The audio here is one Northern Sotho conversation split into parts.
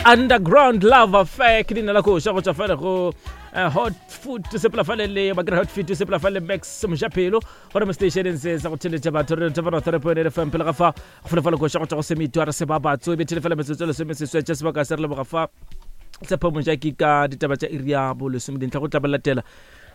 Underground Love Affair ke leina la koša go tšwa fale go eh, Hot Food sepela fale le ba kry Hot Fit sepela fale Max Mojapelo gore mo stationeng se sa go theletša batho re thefana 3.8 FM pele ga fa go fele fale koša go tšwa go semitwa re se ba batso e bethele fela metsotso e lesome seswe tša sebaka se re leboga fa tshepo mojaki ka ditaba tša iri ya bolesome dintlha go tla ba latela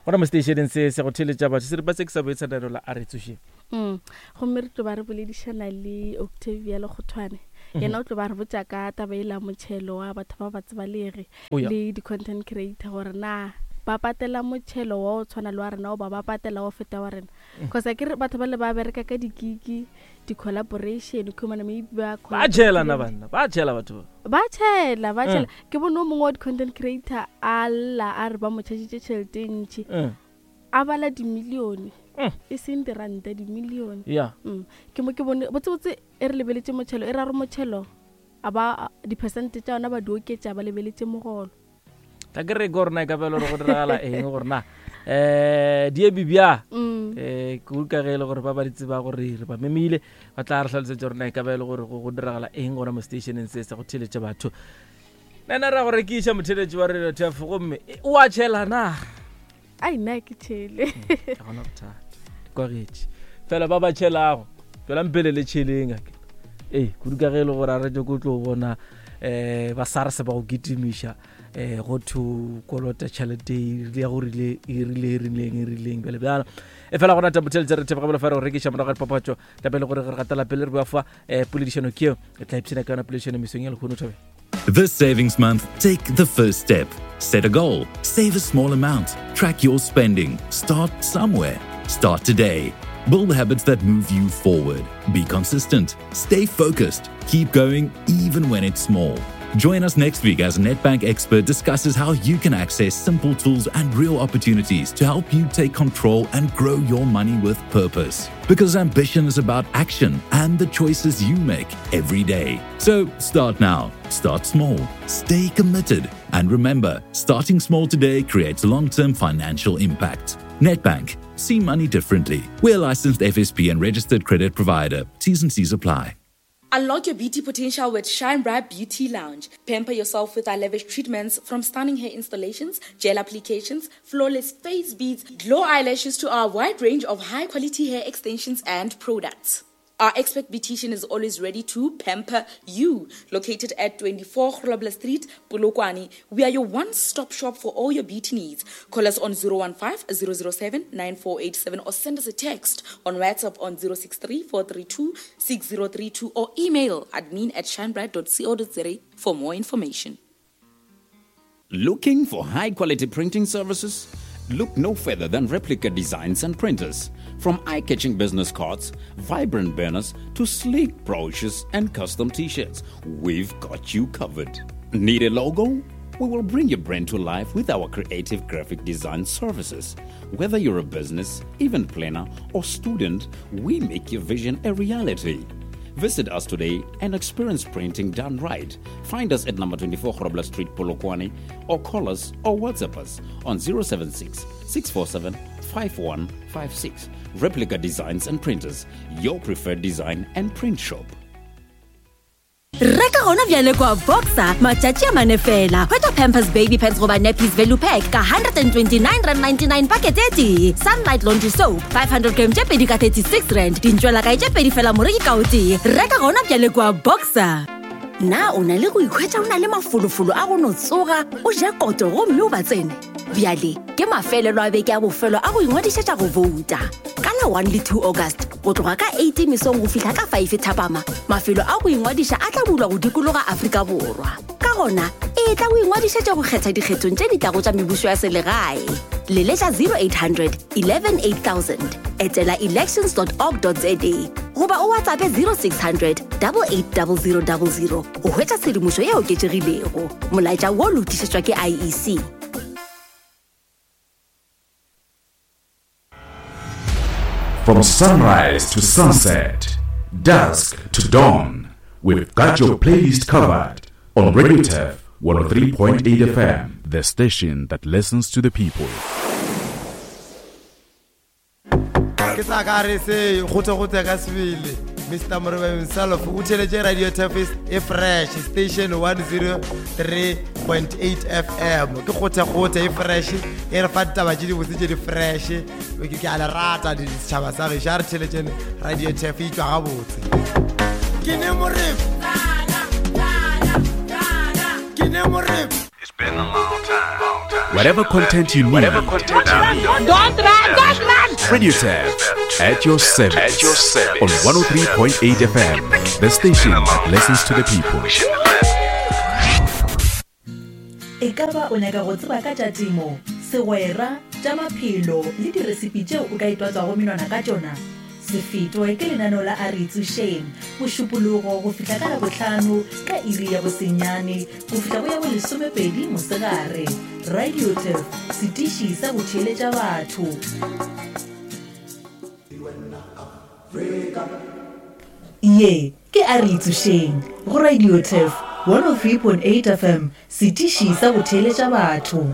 gona mo stationeng se se go theletša batho seripa se ke sa boitshanelo la a re tsošeng Mm. Gomme re tlo ba re boledišana le Octavia Lekgothwane. Yena o tlo ba re botša ka taba e la motšhelo wa batho ba ba tsebalege Oh, yeah. le di-content creator gore na ba patela motšhelo wa o tshwana le wa rena goba ba patela wa feta wa rena. Cause akere batho ba le ba bereka ka dikiki, di-collaboration, khumana maybe ba ba tšhela na banna ba tšhela batho ba ba tšhela ba tšhela ke bone o mongwe wa di-content creator a lla a re ba mo chargitše tšhelete e ntši A bala dimilione, mm. e seng diranta, dimilione. Yeah. Mm. Ke mo ke bone botsebotse e re lebeletše motšhelo, e ra re motšhelo a ba diphesente tša yona ba di oketša ba lebeletše mogolo. Tla ke re ke gore na e ka belo gore go diragala eng gore na eh di ebi bja mm. eh ke utlwa ge e le gore ba ba di tseba gore re ba memile ba tla re hlalosetsa gore na e ka ba e le gore go diragala eng gona mo stationeng se sa go theletša batho nna ra go rekiša motheletši wa radio tf gomme o a tšhela na Ai nna ke tšhele. Ga gona bothata. Kwagetše. Fela ba ba tšhelago, tswelang pele le tšheleng ake. Ee, kudu ka ge e le gore a re ko tlo bona eh ba SARS ba go kitimiša eh go thu kolota tšhelete e ya go rile e rile e rileng e rileng bjale bjalo e fela gona tabothele tse re theboga bjalo fa re go rekiša morago ga dipapatšo tapele gore re gatela pele re bua fa eh poledišano ke eo e tla ipshina ka yona poledišano mesong ya lehono thabe This savings month, take the first step. Set a goal, save a small amount, track your spending, start somewhere. Start today. Build habits that move you forward. Be consistent, stay focused, keep going even when it's small. Join us next week as Nedbank expert discusses how you can access simple tools and real opportunities to help you take control and grow your money with purpose. Because ambition is about action and the choices you make every day. So start now, start small, stay committed, and remember starting small today creates long term financial impact. Nedbank, see money differently. We're licensed FSP and registered credit provider. T's and C's apply. Unlock your beauty potential with Shine Bright Beauty Lounge. Pamper yourself with our lavish treatments from stunning hair installations, gel applications, flawless face beads, glow eyelashes to our wide range of high quality hair extensions and products. Our expert beautician is always ready to pamper you. Located at 24 Grobler Street, Polokwane, we are your one-stop shop for all your beauty needs. Call us on 015 007 9487 or send us a text on WhatsApp on 063 432 6032 or email admin at shinebright.co.za for more information. Looking for high quality printing services? Look no further than Replica Designs and Printers. From eye catching business cards, vibrant banners, to sleek brochures and custom t shirts, we've got you covered. Need a logo? We will bring your brand to life with our creative graphic design services. Whether you're a business, event planner, or student, we make your vision a reality. Visit us today and experience printing done right. Find us at number 24 Grobler Street, Polokwane, or call us or WhatsApp us on 076 647 5156. Replica Designs and Printers, your preferred design and print shop. Reka gona bjale kwa Boxer matšatši a mane fela. Hwetša Pampers Baby Pants goba Nappies Value Pack ka R129.99 pakete e tee. Sunlight Laundry Soap 500 gram tše pedi ka R36. Dintšwelakae tše pedi fela moreki ka o tee. Reka gona bjale kwa Boxer. Na o na le go ikhwetša o na le mafolofolo a go no tsoga o ja koto gomme o ba tsene? Bjale ke mafelelo a beke a bofelo a go ingwadišetša go bouta. Ka la 1 le 2 August, go tloga ka 8 mesong go fihla ka 5 thapama, mafelo a go ingwadiša a tla bulwa go dikologa Afrika Borwa. Ka gona, etla o ingwadišetše go kgetha dikgethong tše di tlago tša mebušo ya selegae. Leletša 0800 11 8000, etela elections.org.za goba o WhatsAppe 0600 880000 go hwetša tshedimošo e oketšegilego. Molaetša wo le o tlišetšwa ke IEC. From sunrise to sunset, dusk to dawn, we've got your playlist covered on Radio Turf 103.8 FM, the station that listens to the people. ke tla ka re se go tse go tse ka sebele. Mr Morebe himself o theletše Radio Turf e fresh station 103.8 FM. Ke kgothekgothe e fresh e re fa ditaba tše dibotse tše di fresh. Ke a le rata setšhaba sa gešo, a re theletšeng Radio Turf e tšwa gabotse. Ke ne Morebe. Ke ne Morebe. Whatever content you need. Don't run, don't run! Radio Turf at your service. At your service. On 103.8 FM, the station that listens to the people. E ka ba o nyaka go tseba ka tša temo, segwera, tša maphelo le diresipi tšeo o ka itwatswago menwana ka tšona? Se fetwe ke lenaneo la A Re Itsošeng, Mošupologo go fihla ka Labohlano ka iri ya bosenyane go fihla go ya bolesomepedi mosegare. Radio Turf, setiši sa go theeletša batho. Ye ke A Re Itsošeng go Radio Turf 103.8 FM, setiši sa go theeletša batho.